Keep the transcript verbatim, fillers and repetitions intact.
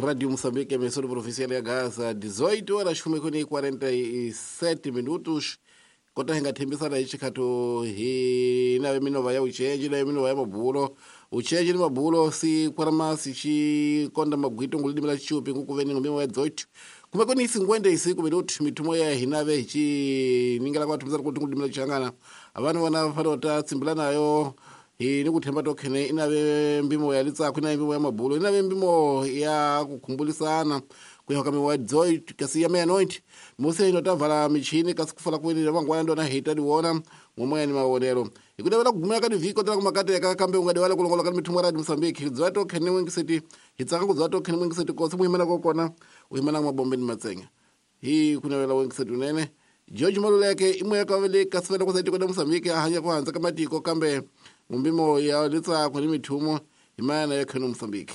Rádio Moçambique, emissora provincial ya Gaza, dezoito horas e quarenta e sete minutos. Kota hinga thembisana hi xikhato hi nave minova ya uchenji nave minova ya mabulo uchenji ni mabulo si kwarama si xi konda magwito ngulidimi la xichupi ngukuveni ngumimo ya dezoito kumbe kuni cinquenta e cinco minutos mithumo ya hina ve hi xi ningela kwa thumisana kuti ngulidimi la xichangana avana vona fanele ta tsimbila nayo hi ni ku themba to khene inave mbimo ya litsako inave mbimo ya mabulo inave mbimo ya ku khumbulisana ku ya ka miwa dezoito kasi ya meia-noite musi ino ta vala michini kasi ku fala kwini vangwana ndona hi ta diwona ngomwe ni mawonelo hi ku navela ku gumela ka divhiki kotela ku makateka kambe u nga diwala ku longoloka ni mithumo ya Radio Mozambique hi dzwa to khene n'wingiseti hi tsaka ku dzwa to khene n'wingiseti kosi mu yimela ko kona u yimela mabombeni matsenga hi ku navela n'wingiseti unene George Maluleke i moya ka vele kasi vele ku sa tiko la Mozambique a hanya ku handza ka matiko kambe ngumbimo ya litsako ni mithumo hi mayana ya khene Mozambique.